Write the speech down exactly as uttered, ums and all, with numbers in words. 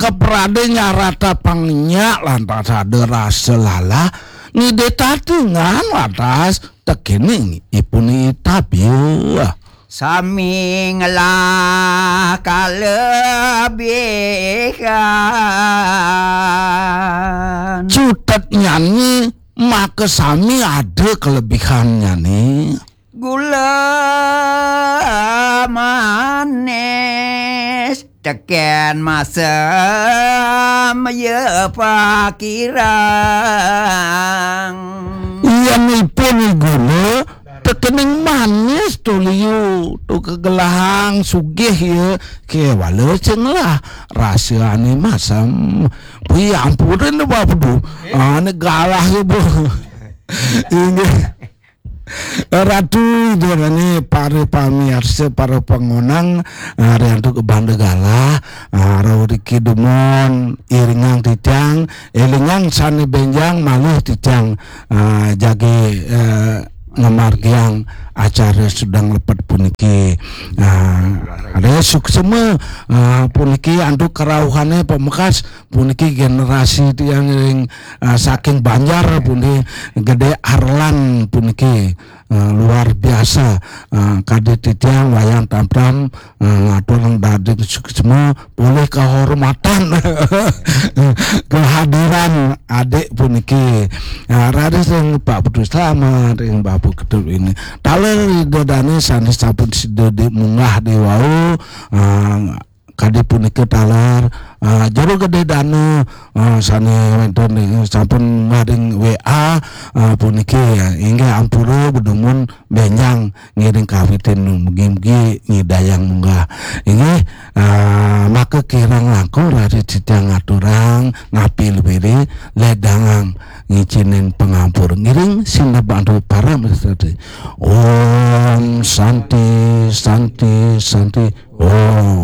keprade nyarata pangnya lantas ada rasa lalah, ngide tatingan lantas tekening ipun itab ya. Sami ngelah kalebihan. Cutet nyanyi maka sami ada kelebihannya nih. Gula manis teken masem ya pakirang. Iya nipun gula tekening manis tuliu tu kegelahang sugih ya kewala sing lah rasane masem. Wi ampunin Bapak Bedu. Ane galah ya bu. Inggih. Ratu Ida dané para pamiarsa, para pangonang, ah, riantuk banda galah, ah, rauh riki dumun iringang titiang, élingang sané bénjang malih titiang, ah, jagi, eh, ngamargiang acara sudang lepet puniki. Ah, ada suksema, ah, puniki antuk kerauhané pamekas puniki generasi tiang ring, ah, saking Banjar puniki Gedé Arlan puniki, ah, luar biasa. Ah, kadi titiang wayang tamtam, ah, ngatur daging suksma polih kehormatan kehadiran adik puniki. Ah, raris ring Pak Putu Slamet, ring Bapak Ketut ini. Taler Ida dané sané sampun sida di munggah di wau, ah, kadi punika taler, ah, jero gedé dana, ah, sané wénten ring sampun maring W A, ah, puniki, ya, inggih ampura bedumun bénjang ngiring kawitin mugi-mugi nyidayang munggah. Inggih, ah, maka kirang langkung raris titiang ngaturang ngapi luwiri ledangang ngicinin pangampur ngiring sineb antuk parama sasti. Om Santi, Santi, Santi. Om.